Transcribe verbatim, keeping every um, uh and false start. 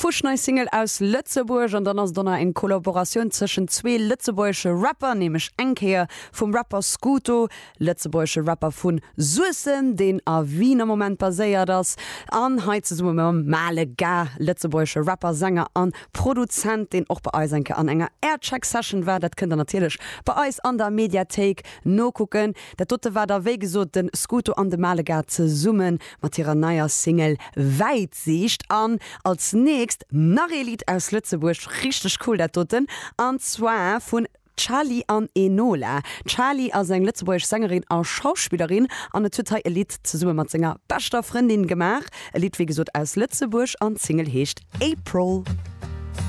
Fuschnei Single aus Lëtzebuerg an dann ass do nach eng Kollaboratioun zwëschen zwee lëtzebuergesche Rapper, nämlech eng Kéier vum Rapper Scooto, lëtzebuergesche Rapper vu Suessem, deen a Wien am Moment baséiert ass, an hei zesumme mam Male Gars, lëtzebuergesche Rapper, Sänger an Produzent, deen och bei eis eng Kéier an enger Aircheck Session war. Dat kënnt der natierlech bei eis an der Mediathéik nokucken. Dat dote war da wéi gesot de Scooto an de Male Gars zesumme mat hirer neier Single Wäitsiicht. An als nächst nach ee Lidd aus Lëtzebuerg, richteg cool dat doten, an zwar vun Charly an Enola. D'Charly ass eng lëtzebuergesch Sängerin a Schauspillerin an et huet hei e Lidd zesumme mat senger beschter Frëndin gemaach. E Lidd wéi gesot aus Lëtzebuerg an d'Single heescht April.